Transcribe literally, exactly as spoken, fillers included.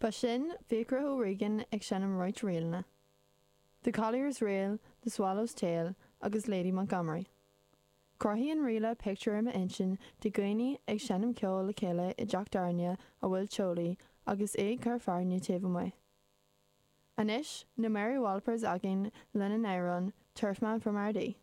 Ba sin Fiachra O'Regan ag seinm roinnt ríleanna. The Collier's Reel, The Swallow's Tail agus Lady Montgomery. Cruthaíonn ríle pictiúr i m'intinn de dhaoine ag seinm ceoil le chéile i dteach tábhairne a bhfuil teolaí agus é ag cur fearthainne taobh amuigh. Anois na Mary Wallopers againn lena n-amhrán Turfman from Ardee.